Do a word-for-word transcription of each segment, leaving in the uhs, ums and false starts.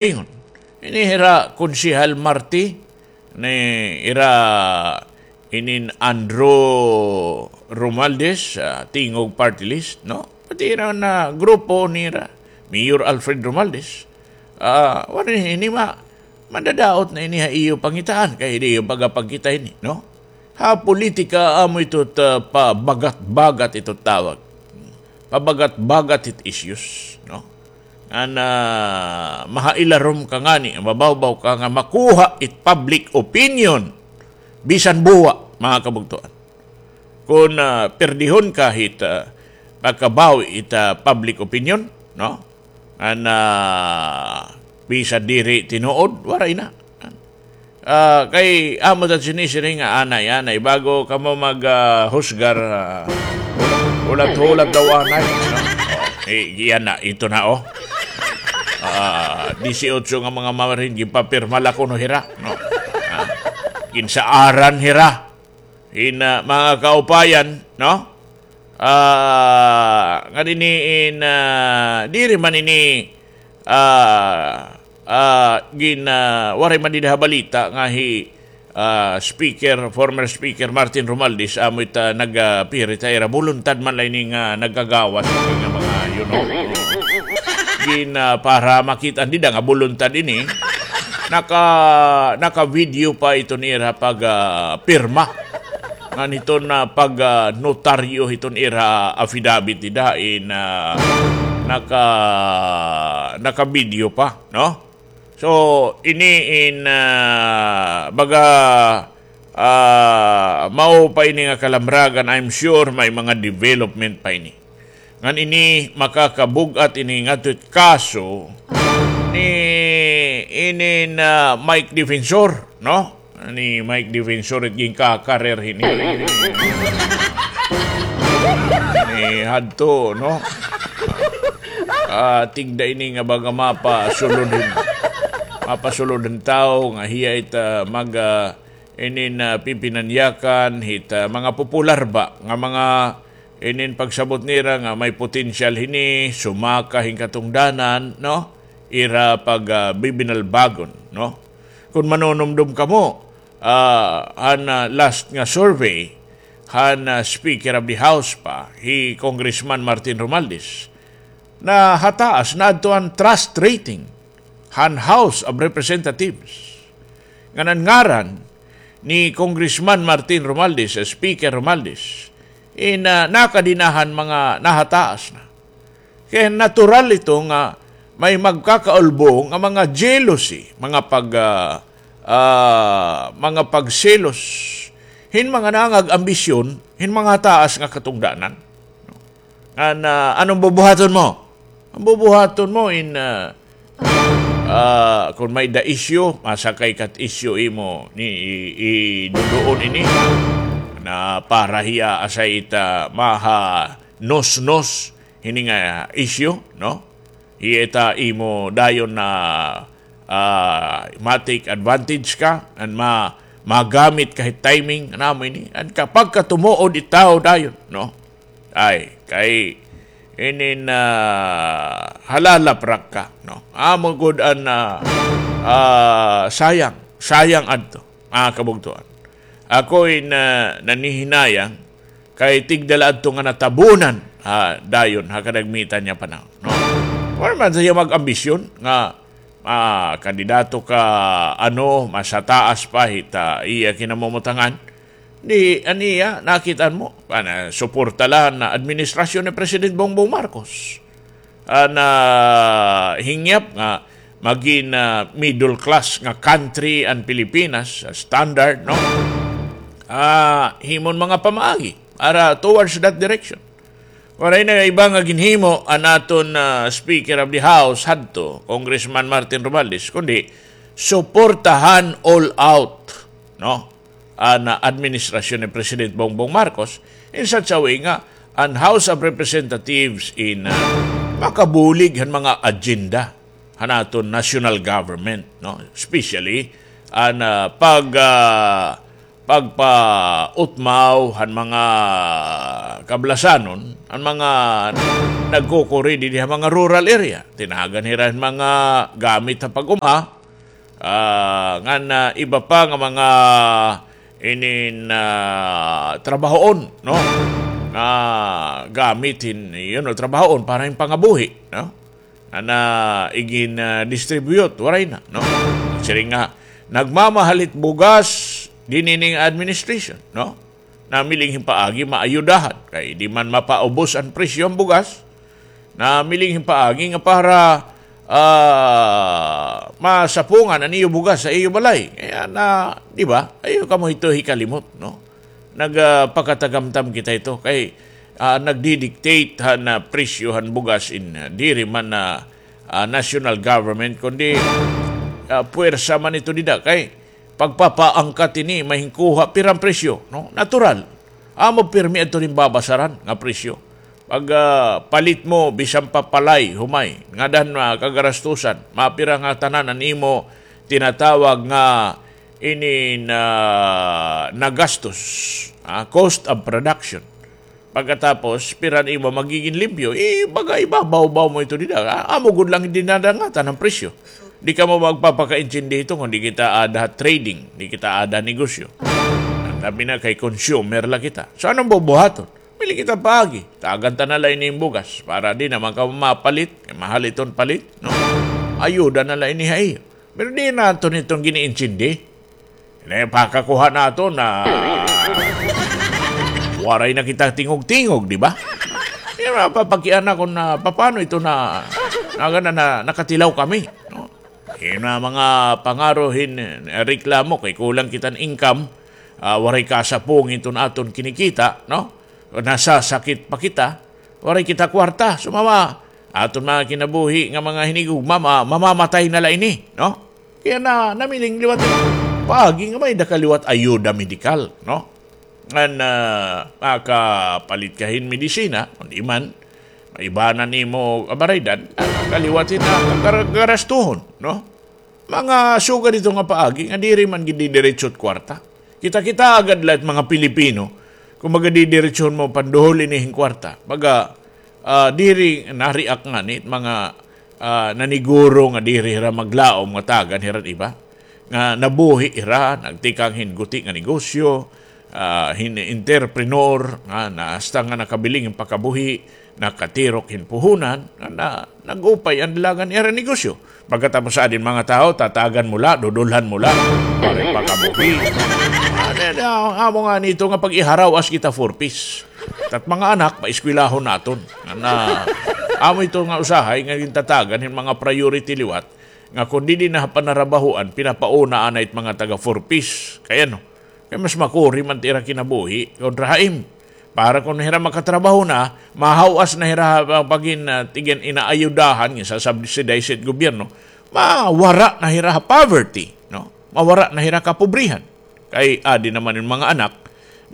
Ingon ini hira Konsehal Marti, ni ira inin Andrew Romualdez, ah, Tingog Party List, no? Pati ira na grupo nira, Mayor Alfred Romualdez, ah, waray ini ma-, madadaot na ini ha iyo pangitaan, kay di iyo pagapagkita ini, no? Ha politika, amo ito ta-, pabagat-bagat ito tawag. Pabagat-bagat it issues, no? Ngan, ah, mahailarom ka ngani, mabawbaw ka nga makuha it public opinion. Bisan buwa, mga kabugtoan. Kon, ah, perdihon ka hit, ah, pagkabawi it, ah, public opinion, no? Ngan, ah, bisan diri tinuod, waray na. Ah, kay amo ta sinisiring nga anay, anay, bago kamo mag, ah, husgar, ah, hulat-hulat daw anay, no? Oh, i-, iyan na, ito na, oh. Ah, disiotso nga mga mamarin, ginpapirma la kuno hira, no? Ah, ginsaaran hira. In, ah, mga kaupayan, no? Ah, nga dinhi in, ah, diri man ini, ah, ah, gin, ah, waray man dinhi ha balita nga hi, ah, Speaker, former Speaker Martin Romualdez, amo it, ah, nag, ah, pirit ha ira, buluntad man la ini nga nagkagawas nga mga, you know. Gin, ah, para makita nida nga buluntad ini, naka, naka-video pa iton ira pag, ah, pirma. Ngan hiton, ah, pag, ah, notaryo hiton ira affidavit dida in, ah, naka, naka-video pa, no? So, ini in, ah, baga, ah, mao pa ini nga kalamragan, I'm sure may mga development pa ini. Ngan ini makakabug-at ini ngadto it kaso ni inin, ah, Mike Defensor, no? Ni Mike Defensor it ginkakarer hini. Ni hadto, no? Ah, tigda ini nga baga mapasulod hin, mapasulod hin tawo nga hiya it, ah, mag, ah, inin, ah, pipinanyakan hit, ah, mga popular ba nga mga inin pagsabot nira nga may potensyal hini sumaka hin katungdanan, no? Ira pag, ah, bibinalbagon, no? Kon manunumdom kamo, ah, han, ah, last nga survey, han, ah, Speaker of the House pa, hi Congressman Martin Romualdez, nahataas na adto an trust rating han House of Representatives. Ngan an ngaran ni Congressman Martin Romualdez, eh, Speaker Romualdez, in, ah, nakadinahan mga nahataas na. Kay natural ito nga may magkakaulbo nga mga jealousy, mga pag, ah, ah, mga pagselos, hin mga nangag-ambisyon, hin mga taas nga katungdanan. An, ah, anong bubuhaton mo? Ang bubuhaton mo in, ah, ah, kung may da isyu, masakay kat isyu imo ni i-, i-, duduon ini. Na para hiya asay ita maha nos-nos hini nga isyu, no? Hiya ita imo dayon na, ah, ma-take advantage ka, and ma-, magamit ka hit timing, ano mo ini? And kapag katumuod itaw dayon, no? Ay, kay inin, ah, halalaprak ka, no? Amo gud an, ah, ah, sayang, sayang adto, mga kabugtuan. Ako in, ah, nanihinayang kay tigda la adto nga natabunan, ah, dayon ha kadagmitan niya panahon, no? Wala man siya mag-ambisyon nga, ah, kandidato ka, ano, mas hataas pa hit, ah, iya kinamumutangan. Di, an iya, nakit-an mo, ana, suporta la an administrasyon ni President Bongbong Marcos. An, ah, hingyap nga magin, ah, middle class nga country an Pilipinas, ah, standard, no? Ah, himon mga pamaagi para towards that direction. Waray na iba nga ginhimo an aton, ah, Speaker of the House hadto, Congressman Martin Romualdez, kundi suportahan all out, no? An, ah, administrasyon ni President Bongbong Marcos in such a way nga an House of Representatives in, ah, makabulig han mga agenda han aton national government, no? Especially an, ah, pag, ah, pagpautmaw han mga kablasanon, an mga nagkukuri didi ha mga rural area. Tinagan hira hin mga gamit ha pag-uma, ah, ngan iba pa nga mga inin, ah, trabahoon, no? Nga gamit hin, you know, trabahoon para hin pangabuhi, no? Nga na igin, ah, distribute, waray na, no? Siring nga, nagmamahal it bugas, dinhi nga administration, no? Namiling hin paagi maayudahan. Kay di man mapaubos an presyo han bugas. Namiling hin paagi nga para, ah, masapungan an iyo bugas ha iyo balay. Kaya na, di ba? Ayaw kamo hito hikalimot, no? Nag, ah, pakatagamtam kita hito. Kay, ah, nagdi-dictate han, ah, presyo han bugas in, ah, diri man na, ah, national government, kundi, ah, puwersa man ito dida. Kay, pagpapaangkat ini, mahinkuha, pira an presyo, no? Natural. Amo pirmi adto hin babasaran nga presyo. Pag, ah, palit mo, bisan pa palay, humay, ngada han, ah, kagarastusan, mapira nga tanan an imo tinatawag nga ini na nagastos, ah, cost of production. Pagkatapos, pira an imo magigin limpyo, eh, baga ibabaw-baw mo ito dida. Ah, amo gud la it dinadangatan han presyo. Di kamo magpapakaintindi hito kon di kita aada ha trading, di kita aada ha negosyo. An tabi na kay consumer la kita. So, ano an bubuhaton? Pili kita paagi. Tagan ta na la ini hin bugas. Para di na man kamo mapalit. Kay mahal iton palit, no? Ayuda na la ini ha iyo. Pero di naton iton giniintindi. Ini pakakuha naton na waray na kita tingog-tingog, di ba? Di ba, papakiana kon na, paano ito na, na, na, na, nakatilaw kami, no? Ini mga pangaro hin, eh, reklamo kay kulang kita hin income, ah, waray kasapong iton aton kinikita, no? Nasasakit pa kita, waray kita kwarta. So, mama, aton mga kinabuhi nga mga hinigugma, ma-, mamamatay na la ini, no? Kaya na, namiling liwat paagi nga may-ada ka liwat ayuda medikal, no? Ngan, ah, makapalit ka hin medisina, kundi man, maibanan nimo kabaraydan, ah, kaliwat hin, ah, kagar-, garastuhon, no? Mga sugad ito nga paagi nga diri man gid didiretso it kwarta. Kita-kita agad la it mga Pilipino, kumbaga didiretsohon mo panduhol ini hin kwarta. Baga, ah, diri na-react ngani it mga, ah, naniguro nga diri hira maglaom nga tagan hira iba. Nga nabuhi hira, nagtikang hin guti nga negosyo, ah, hin entrepreneur, nga na hasta nga nakabiling hin pakabuhi, nakatirok hin puhunan, nga na, nag-upay an dalagan hira negosyo. Pagkatapos sa adin mga tawo, tatagan mo la, dudulhan mo la, para pakabuhi. Ano, ano, amo ngani ito nga pag-iharaw-as kita four Ps. Tat mga anak, paeskwelahon naton. Nga na, amo ito nga usahay nga gintatagan hin mga priority liwat. Nga kon didi na panarabahoan, pinapauna anay it mga taga four Ps. Kay ano? Kay mas makuri man it ira kinabuhi kontra ha imo. Para kon hira makatrabaho na, mahaw-as na hira ha pagin, ah, tigin inaayudahan, ginsasubsidize it gobyerno, mawara na hira ha poverty, no? Mawara na hira kapobrihan. Kay adi naman it mga anak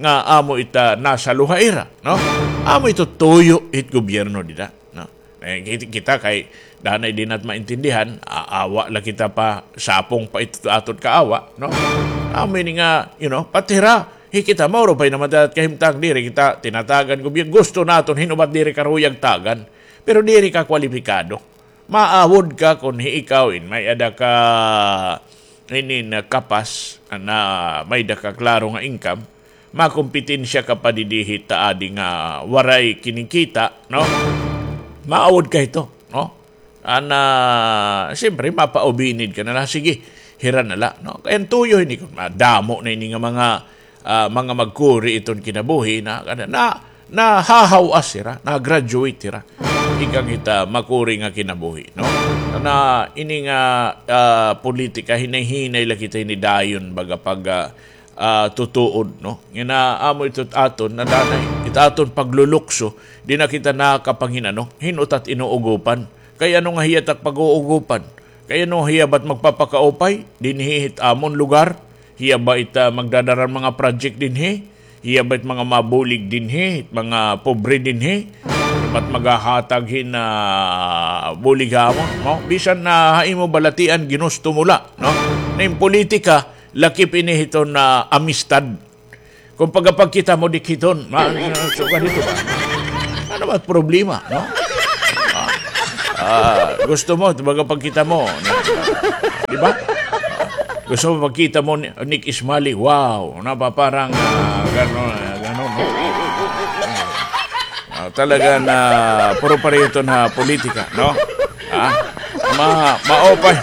nga amo ita nasaluha ira, no? Amo ito tuyo it gobyerno dida, no? Eh, kit-, kita kay danay di nat maintindihan, a-, awa la kita pa, sapong pa ito aton kaawa, no? Amo ini nga, you know, pati hira, hi kita, mauro pa naman ta kahimtang diri kita tinatagan gobyerno. Gusto naton, hin-ubat diri karuyag tagan. Pero diri ka kwalipikado. Maawod ka kon hi ikaw in may-ada ka inin kapas, na may-ada ka klaro nga income, makompetensya ka pa didi hit adi nga waray kinikita, no? Maawod ka hito, no? Ana, siyempre, mapaubinid ka na la, sige, hira na la, no? Kay an tuyo hini kon madamo na ini nga mga, ah, mga magkuri iton kinabuhi na, na, nahahaw-as hira, na-graduate hira. Tikang hit makuri nga kinabuhi, no? Na ini nga, ah, politika, hinay-hinay la kita hini dayon, baga pag, ah, ah, tutuod, no? Nga na amo ito aton, nadanay, it aton paglulukso, di na kita nakapangin-ano, hin-o ta it inuugopan. Kay ano nga hiya ta it pag-uugopan? Kay ano hiya ba it magpapakaupay dinhi hit amon lugar? Hiya ba it, ah, magdadara hin mga project dinhi? Hiya ba it mga mabulig dinhi, it mga pobre dinhi? Hiya ba it maghahatag hin, ah, bulig ha amon, no? Bisan na ha imo balatian, ginusto mo la, no? Na in politika, lakip ini hiton, ah, amistad. Kung pagapagkita mo, dikhiton. Ma-, so, ganito ba? Ano ba problema, no? Ah, ah, gusto mo, pagapagkita mo, no? Di ba? Gusto mo pagkita mo ni Nick Ismali, wow, napaparang, ah, gano'n, ah, gano'n, no? Ah, talaga na puro pareho ito na politika, no? Ha? Ma-, maupay.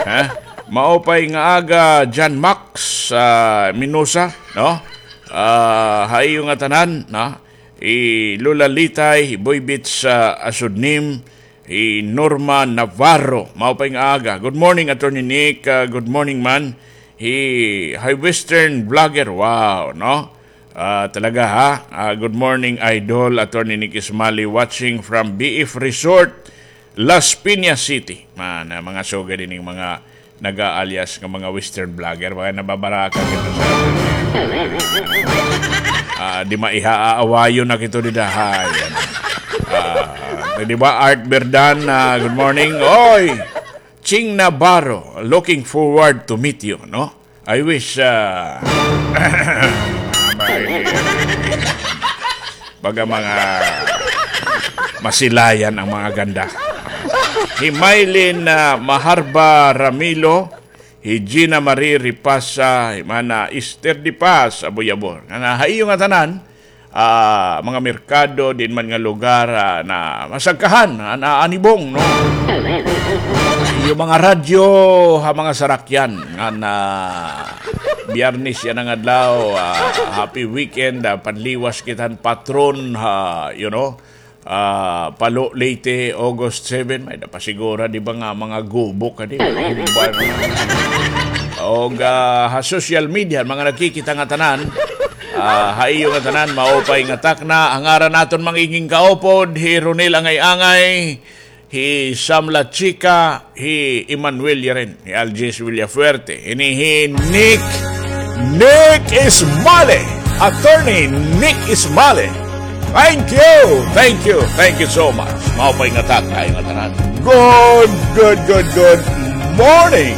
Ha? Maupay nga aga, John Max, ah, Minosa, no? Ah, ha iyo nga tanan, no? Hi Lola Litay, hi Boy Bits, ah, Asudnim, hi Norma Navarro. Maupay nga aga. Good morning, Attorney Nick. Ah, good morning man. Hi, hi Western Vlogger. Wow, no? Ah, talaga, ha? Ah, good morning, Idol. Attorney Nick Ismali watching from B F Resort, Las Piñas City. Man, ah, mga sugad ining mga nag-aalias nga mga Western Vlogger, baka nababaraka kita sa, ah, di maiha, aawayon na kito dida, hay. Ah, di ba, Art Berdan, ah, good morning. Oy! Ching Navarro, looking forward to meet you, no? I wish, ah, baga mga masilayan ang mga ganda. Hi Mylene, ah, Maharba Ramilo, hi Gina Marie Ripasa, hi Mana Esther Di Paz, Aboy-Abor. Nga na, ha iyo nga tanan, ah, mga merkado, diin man nga lugar, ah, na masagkahan, ah, na anibong, no? Iyo mga radyo, ha mga sarakyan, nga na Biyernes yana nga adlaw, ah, happy weekend, ah, panliwas kita han patron, ha, you know, ah, Palo, Leyte, August seven, may napasigura, di ba nga, mga gubok, kadi, mga humban. Og, ah, ha social media, mga nakikita nga tanan, ah, ha iyo nga tanan, maupay nga takna, an ngaran naton mga iging kaupod, hi Ronel Angay-Angay, hi Sam La Chica, hi Emmanuel Yaren, hi Algis Villafuerte, ini hi Nick, Nick Ismali, Attorney Nick Ismali. Thank you, thank you, thank you so much. Maupay nga takna ha iyo nga tanan. Good, good, good, good morning.